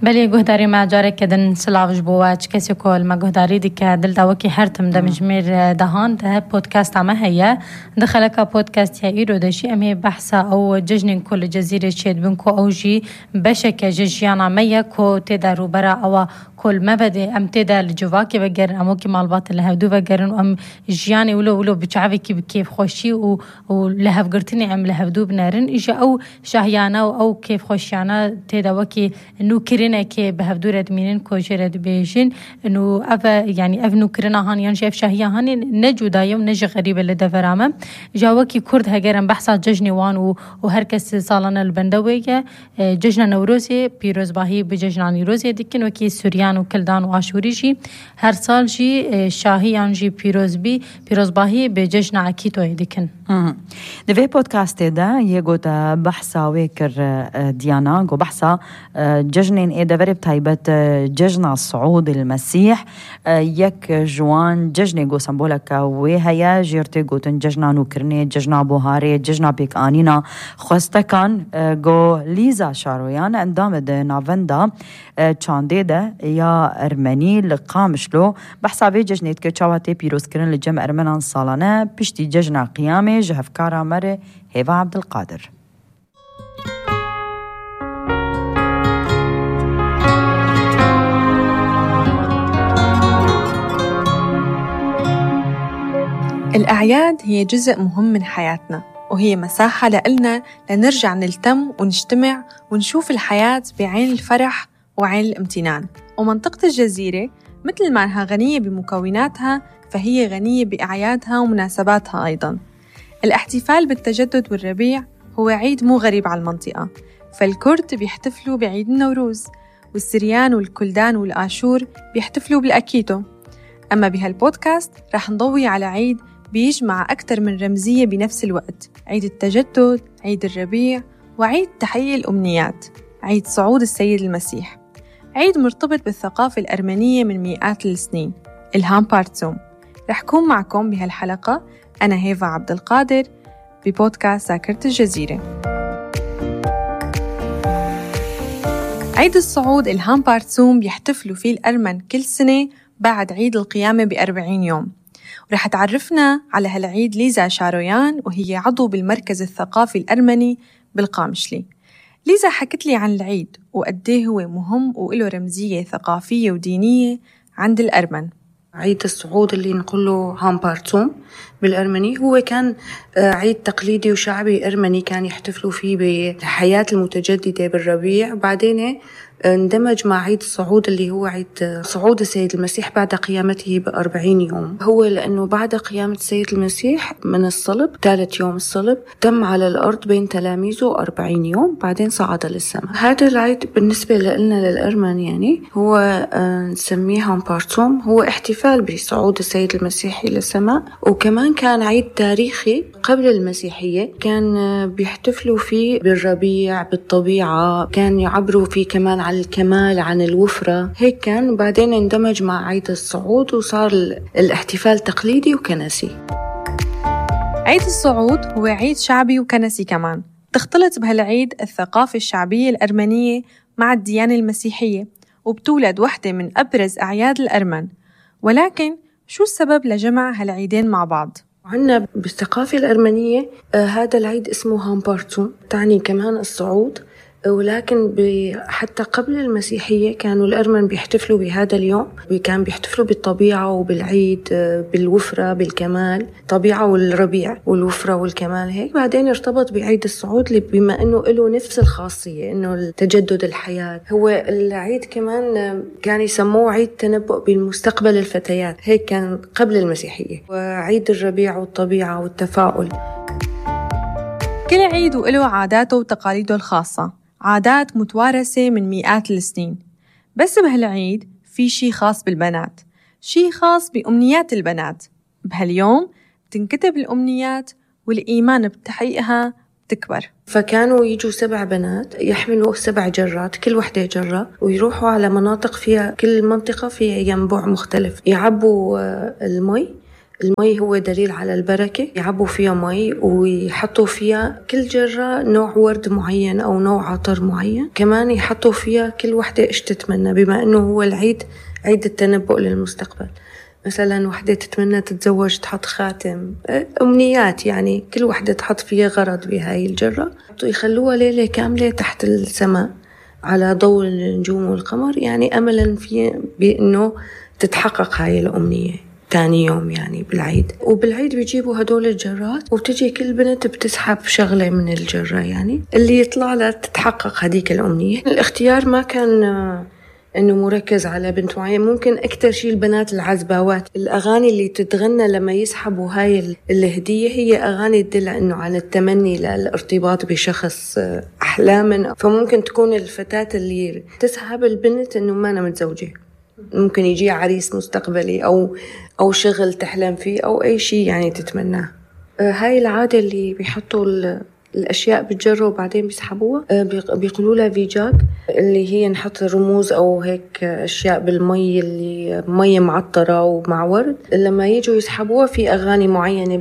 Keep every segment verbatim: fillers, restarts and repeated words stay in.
بلی گهداری ما جاره کدن سلاوش بواج کسی کول ما گهداری دیگه دل داوکی هر تم دمج میر دهان ده پودکاست عمه هیا دخلك پودکاست هایی رو داشی امی بحثا او ججن کل جزیره شید بن کو اوجی بشک ججیانا میا کو تدارو برا او كل ما بدي أم تدا الجواكي بجرن أموكي مالبات اللي هدو بجرن وأم جياني ولو ولو بتشعبي كيف كيف خوشي و ولهف قرتني أم لهفدو بنارن إجا أو شهيانا أو كيف خوشيانا تدا وكي إنه كرنا كي بهفدو رد مينن كوجر رد بيجين إنه أفا يعني أفنو كرنا هان ينجي أف شهيا هاني نجو دايم نجي غريبة اللي دفرامة جاوكي كرد هجرن بحثا ججني وان وهركس صالنا البندوية ججنا نوروزي بيروز باهي بججنا نيروزي ديكن وكي سوريان و کلدان و آشوری جی هر سال جی شاهیان جی پیروز بی پیروز باهی به جشن عکیتوی دیکن. دوی پودکاسته ده یه گوتا بحثا ویکر دیانا گو بحثا جشنین ایده ورب تایبت جشن صعود المسيح یک جوان جشن گو سمبولک وی هیا جیرته گوتن جشن نوکرنی جشن بوهاری جشن بیک آنینا خواستکان گو لیزا شارویان اندام ده ناوندا چانده ده یا ارمنی لقامشلو بحثا به جشنیت که چاواتی پیروز کرن لجم ارمنان سالانه پشتی جشن قیامه جهفکارا مره هیوا عبدالقادر. الأعياد هي جزء مهم من حياتنا وهي مساحة لإلنا لنرجع نلتم ونجتمع ونشوف الحياة بعين الفرح وعين الامتنان. ومنطقة الجزيرة مثل ما أنها غنية بمكوناتها فهي غنية بأعيادها ومناسباتها أيضاً. الاحتفال بالتجدد والربيع هو عيد مو غريب على المنطقة، فالكرد بيحتفلوا بعيد النوروز والسريان والكلدان والآشور بيحتفلوا بالأكيتو. أما بهالبودكاست رح نضوي على عيد بيجمع أكثر من رمزية بنفس الوقت، عيد التجدد، عيد الربيع، وعيد تحقيق الأمنيات، عيد صعود السيد المسيح. عيد مرتبط بالثقافة الأرمنية من مئات السنين، الهام بارتسوم. رح كون معكم بهالحلقة أنا هيفا عبدالقادر ببودكاست ذاكرة الجزيرة. عيد الصعود الهام بارتسوم بيحتفلوا فيه الأرمن كل سنة بعد عيد القيامة بأربعين يوم. ورح تعرفنا على هالعيد ليزا شارويان وهي عضو بالمركز الثقافي الأرمني بالقامشلي. ليزا حكت لي عن العيد وقديه هو مهم وله رمزية ثقافية ودينية عند الأرمن. عيد الصعود اللي نقوله هام بارتسوم بالأرمني هو كان عيد تقليدي وشعبي أرمني كان يحتفلوا فيه بالحياة المتجددة بالربيع، بعدين اندمج مع عيد الصعود اللي هو عيد صعود السيد المسيح بعد قيامته بأربعين يوم. هو لأنه بعد قيامة السيد المسيح من الصلب ثالث يوم الصلب تم على الأرض بين تلاميذه أربعين يوم بعدين صعد للسماء. هذا العيد بالنسبة لنا للأرمن يعني هو نسميه هام بارتسوم، هو احتفال بصعود السيد المسيح إلى السماء، وكمان كان عيد تاريخي قبل المسيحية كان بيحتفلوا فيه بالربيع بالطبيعة، كان يعبروا فيه كمان عن الكمال عن الوفرة هيك كان، وبعدين اندمج مع عيد الصعود وصار الاحتفال تقليدي وكنسي. عيد الصعود هو عيد شعبي وكنسي كمان، تختلط بهالعيد الثقافة الشعبية الأرمنية مع الديانة المسيحية وبتولد واحدة من أبرز أعياد الأرمن. ولكن شو السبب لجمع هالعيدين مع بعض؟ عنا بالثقافة الأرمنية آه هذا العيد اسمه هام بارتسوم تعني كمان الصعود، ولكن حتى قبل المسيحية كانوا الأرمن بيحتفلوا بهذا اليوم، كان بيحتفلوا بالطبيعة وبالعيد بالوفرة بالكمال، طبيعة والربيع والوفرة والكمال هيك. بعدين ارتبط بعيد الصعود بما أنه له نفس الخاصية أنه تجدد الحياة. هو العيد كمان كان يسموه عيد تنبؤ بالمستقبل الفتيات، هيك كان قبل المسيحية، وعيد الربيع والطبيعة والتفاؤل. كل عيد وله عاداته وتقاليده الخاصة، عادات متوارثة من مئات السنين. بس بهالعيد في شي خاص بالبنات، شي خاص بأمنيات البنات. بهاليوم بتنكتب الأمنيات والإيمان بتحقيقها بتكبر. فكانوا يجوا سبع بنات يحملوا سبع جرات كل وحدة جرة ويروحوا على مناطق فيها كل منطقة فيها ينبوع مختلف، يعبوا المي المي هو دليل على البركة، يعبوا فيها مي ويحطوا فيها كل جرة نوع ورد معين أو نوع عطر معين، كمان يحطوا فيها كل وحدة إيش تتمنى، بما أنه هو العيد عيد التنبؤ للمستقبل. مثلا وحدة تتمنى تتزوج تحط خاتم، أمنيات يعني، كل وحدة تحط فيها غرض بهاي الجرة، يخلوها ليلة كاملة تحت السماء على ضوء النجوم والقمر، يعني أملا في بأنه تتحقق هاي الأمنية تاني يوم يعني بالعيد. وبالعيد بيجيبوا هدول الجرات وبتجي كل بنت بتسحب شغلة من الجرة يعني اللي يطلع لها تتحقق هديك الأمنية. الاختيار ما كان إنه مركز على بنت معين، ممكن أكتر شيء البنات العزباوات، الأغاني اللي تتغنى لما يسحبوا هاي الهدية هي أغاني تدل إنه على التمني للارتباط بشخص أحلاما. فممكن تكون الفتاة اللي تسحب البنت إنه ما أنا متزوجة، ممكن يجي عريس مستقبلي أو أو شغل تحلم فيه أو أي شيء يعني تتمناه. هاي العادة اللي بيحطوا الأشياء بالجرة وبعدين بيسحبوها بيقولوا لها فيجاك، اللي هي نحط رموز أو هيك أشياء بالمي اللي مية معطرة ومع ورد. لما يجوا يسحبوها في أغاني معينة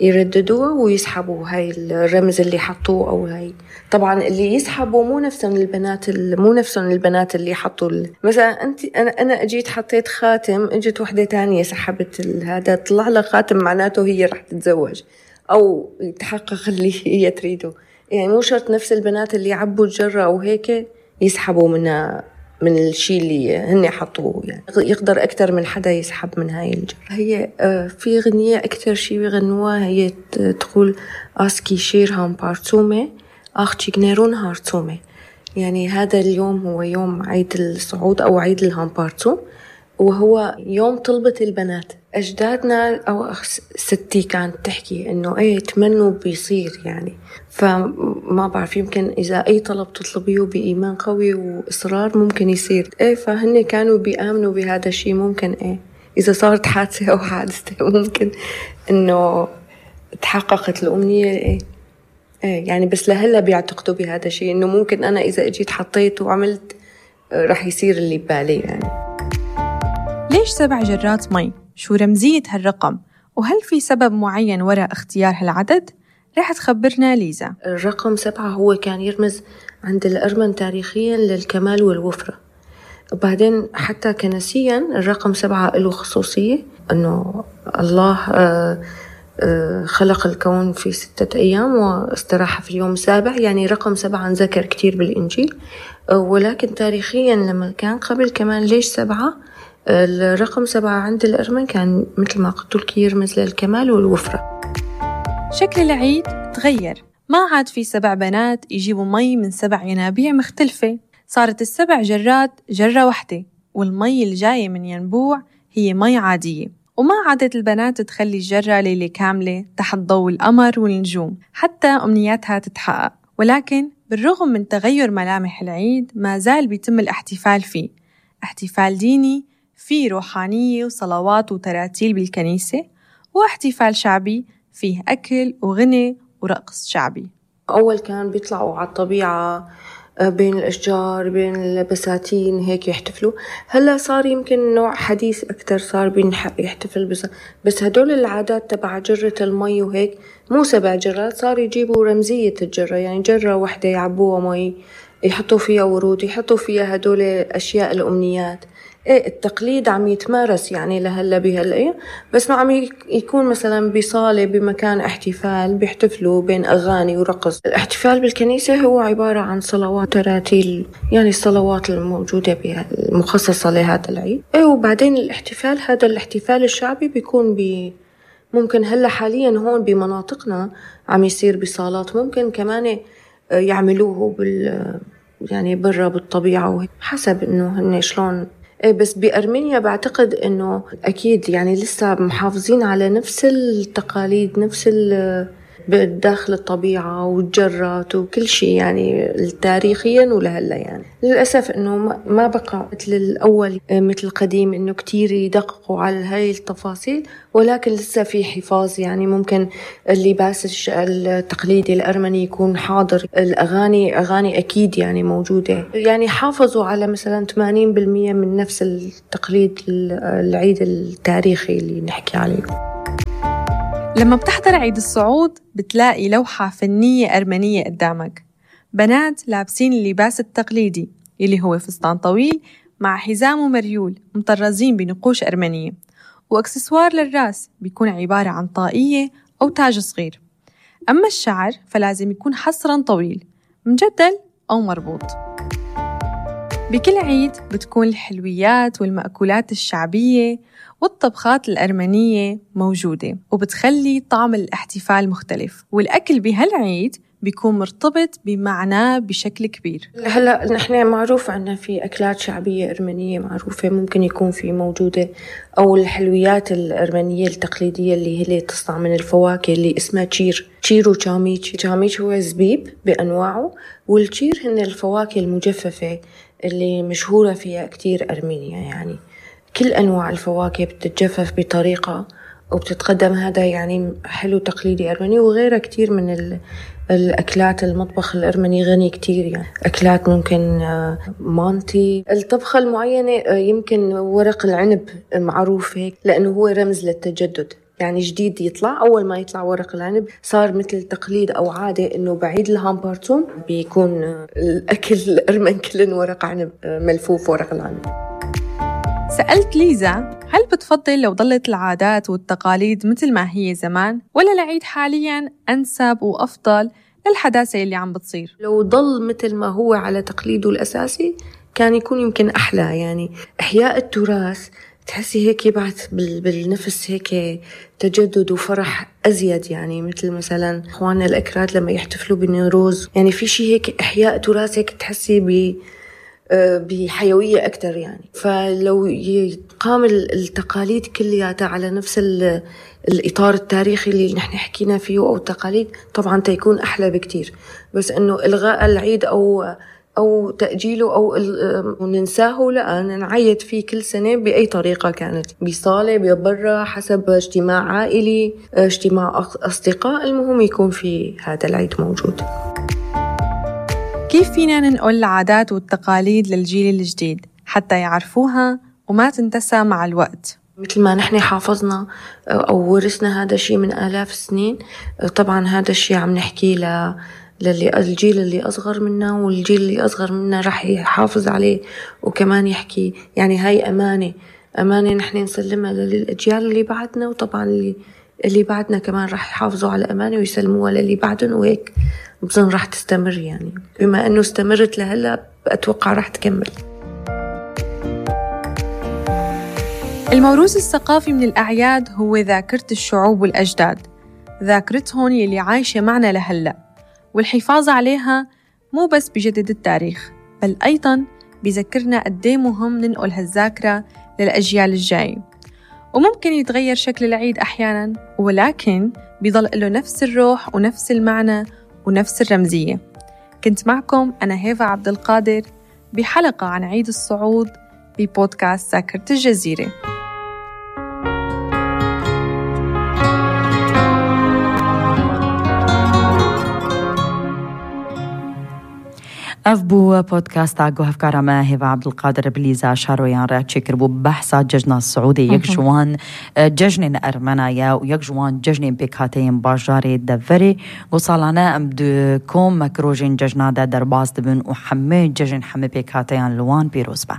بيرددوها ويسحبوا هاي الرمز اللي حطوه. أو هاي طبعا اللي يسحبوا مو نفسهم البنات مو نفسهم البنات اللي حطوا مثلا أنت أنا أنا أجيت حطيت خاتم، اجت وحدة تانية سحبت هذا طلع لها خاتم، معناته هي رح تتزوج أو يتحقق اللي هي تريده. يعني مو شرط نفس البنات اللي عبوا الجرة أو هيك يسحبوا منها من الشيء اللي هن حطوه، يعني يقدر أكتر من حدا يسحب من هاي الجرة. هي في غنية أكتر شيء بيغنوها هي تقول آسكي شير هام بارتومي آخ جنيرون هارتومي، يعني هذا اليوم هو يوم عيد الصعود أو عيد الهامبارتو، وهو يوم طلبة البنات. أجدادنا أو ستي كانت تحكي إنه إيه تمنوا بيصير يعني، فما بعرف يمكن إذا أي طلب تطلبيه بإيمان قوي وإصرار ممكن يصير. إيه فهن كانوا بيآمنوا بهذا الشيء، ممكن إيه إذا صارت حادثة أو حادثة ممكن إنه تحققت الأمنية. إيه إيه يعني بس لهلا بيعتقدوا بهذا الشيء، إنه ممكن أنا إذا أجيت حطيت وعملت رح يصير اللي ببالي. يعني ليش سبع جرات مي؟ شو رمزية هالرقم؟ وهل في سبب معين وراء اختيار هالعدد؟ رح تخبرنا ليزا. الرقم سبعة هو كان يرمز عند الأرمن تاريخيا للكمال والوفرة، وبعدين حتى كنسيا الرقم سبعة له خصوصية، أنه الله خلق الكون في ستة أيام واستراح في اليوم السابع، يعني رقم سبعة نذكر كتير بالإنجيل. ولكن تاريخيا لما كان قبل كمان ليش سبعة؟ الرقم سبعة عند الأرمن كان مثل ما قلت لك يرمز للكمال والوفرة. شكل العيد تغير، ما عاد في سبع بنات يجيبوا مي من سبع ينابيع مختلفة، صارت السبع جرات جرة واحدة، والمي الجاية من ينبوع هي مي عادية. وما عادت البنات تخلي الجرة ليلة كاملة تحت ضوء القمر والنجوم حتى أمنياتها تتحقق. ولكن بالرغم من تغير ملامح العيد ما زال بيتم الاحتفال فيه، احتفال ديني فيه روحانية وصلوات وتراتيل بالكنيسة، واحتفال شعبي فيه أكل وغنى ورقص شعبي. أول كان بيطلعوا على الطبيعة بين الأشجار بين البساتين هيك يحتفلوا، هلا صار يمكن نوع حديث أكتر، صار بيحتفل بس بس هدول العادات تبع جرة المي وهيك مو سبع جرات، صار يجيبوا رمزية الجرة، يعني جرة واحدة يعبوها مي يحطوا فيها ورود يحطوا فيها هدول أشياء الأمنيات. إيه التقليد عم يتمارس يعني لهلا بهالأيام، بس عم يكون مثلا بصالة بمكان احتفال بيحتفلوا بين أغاني ورقص. الاحتفال بالكنيسة هو عبارة عن صلوات تراتيل، يعني الصلوات الموجودة بها المخصصة لهذا العيد. إيه وبعدين الاحتفال هذا الاحتفال الشعبي بيكون ب ممكن هلا حاليا هون بمناطقنا عم يصير بصالات، ممكن كمان يعملوه بال يعني برا بالطبيعة حسب إنه هن شلون. إيه بس بأرمينيا بعتقد إنه أكيد يعني لسه محافظين على نفس التقاليد نفس داخل الطبيعة والجرات وكل شيء يعني تاريخيا ولهلا. يعني للأسف إنه ما بقى مثل الأول مثل القديم إنه كتير يدققوا على هاي التفاصيل، ولكن لسه في حفاظ. يعني ممكن اللباس التقليدي الأرمني يكون حاضر، الأغاني أغاني أكيد يعني موجودة، يعني حافظوا على مثلا ثمانين بالمية من نفس التقليد العيد التاريخي اللي نحكي عليه. لما بتحضر عيد الصعود بتلاقي لوحة فنية أرمنية قدامك، بنات لابسين اللباس التقليدي اللي هو فستان طويل مع حزام ومريول مطرزين بنقوش أرمنية، وأكسسوار للراس بيكون عبارة عن طاقية أو تاج صغير. أما الشعر فلازم يكون حصراً طويل مجدل أو مربوط. بكل عيد بتكون الحلويات والمأكولات الشعبية والطبخات الأرمنية موجودة، وبتخلي طعم الاحتفال مختلف، والأكل بهالعيد بيكون مرتبط بمعناه بشكل كبير. هلأ نحن معروف عنا في أكلات شعبية أرمنية معروفة ممكن يكون في موجودة، أو الحلويات الأرمنية التقليدية اللي هي تصنع من الفواكه اللي اسمها تشير تشير وشاميتش. تشاميتش هو زبيب بأنواعه، والتشير هن الفواكه المجففة اللي مشهورة فيها كتير أرمينيا. يعني كل أنواع الفواكه بتتجفف بطريقة وبتتقدم، هذا يعني حلو تقليدي أرمني. وغيرها كتير من الأكلات، المطبخ الأرمني غني كتير، يعني أكلات ممكن مانتي. الطبخة المعينة يمكن ورق العنب معروف هيك لأنه هو رمز للتجدد، يعني جديد يطلع. أول ما يطلع ورق العنب صار مثل تقليد أو عادة إنه بعيد الهامبارتون بيكون الأكل الأرمن كلن ورق عنب ملفوف ورق العنب. سألت ليزا هل بتفضل لو ضلت العادات والتقاليد مثل ما هي زمان، ولا العيد حالياً أنسب وأفضل للحداثة اللي عم بتصير؟ لو ضل مثل ما هو على تقليده الأساسي كان يكون يمكن أحلى. يعني إحياء التراث تحسي هيك يبعث بالنفس هيك تجدد وفرح أزيد. يعني مثل مثلا إخواننا الأكراد لما يحتفلوا بالنوروز، يعني في شيء هيك إحياء تراث هيك تحسي ب بحيوية أكتر. يعني فلو يقام التقاليد كلياتها على نفس الإطار التاريخي اللي نحن حكينا فيه أو التقاليد، طبعا تيكون أحلى بكتير. بس إنه إلغاء العيد أو أو تأجيله أو ننساه، لا، نعيد فيه كل سنة بأي طريقة كانت، بصالة ببرة حسب اجتماع عائلي، اجتماع أصدقاء، المهم يكون في هذا العيد موجود. كيف فينا ننقل العادات والتقاليد للجيل الجديد حتى يعرفوها وما تنتسى مع الوقت؟ مثل ما نحن حافظنا أو ورثنا هذا الشيء من آلاف السنين، طبعا هذا الشيء عم نحكي ل للي الجيل اللي أصغر منا، والجيل اللي أصغر منا رح يحافظ عليه وكمان يحكي. يعني هاي أمانة أمانة نحن نسلمها للأجيال اللي بعدنا، وطبعا اللي اللي بعدنا كمان رح يحافظوا على أمانة ويسلموها للي بعدهم، وهيك بظن رح تستمر. يعني بما أنه استمرت لهلأ أتوقع رح تكمل. الموروث الثقافي من الأعياد هو ذاكرة الشعوب والأجداد، ذاكرتهم يلي عايشة معنا لهلأ، والحفاظ عليها مو بس بجدد التاريخ بل أيضاً بذكرنا قديه مهم ننقل هالذاكرة للأجيال الجاية. وممكن يتغير شكل العيد أحياناً، ولكن بيضل له نفس الروح ونفس المعنى ونفس الرمزية. كنت معكم أنا هيفا عبد القادر بحلقة عن عيد الصعود ببودكاست ذاكرة الجزيرة. اف بو بودكاست عقو هفكارا ما هيفا عبد القادر بليزا شارويان راكشي كربو بحثا ججنا السعودي يكجوان ججنين أرمنايا ويكجوان ججنين بكاتين باجاري دفري وصالانا ام دو كوم مكروجين ججنا دا درباز دبن وحمي ججن حمي بكاتين لوان بيروسبا.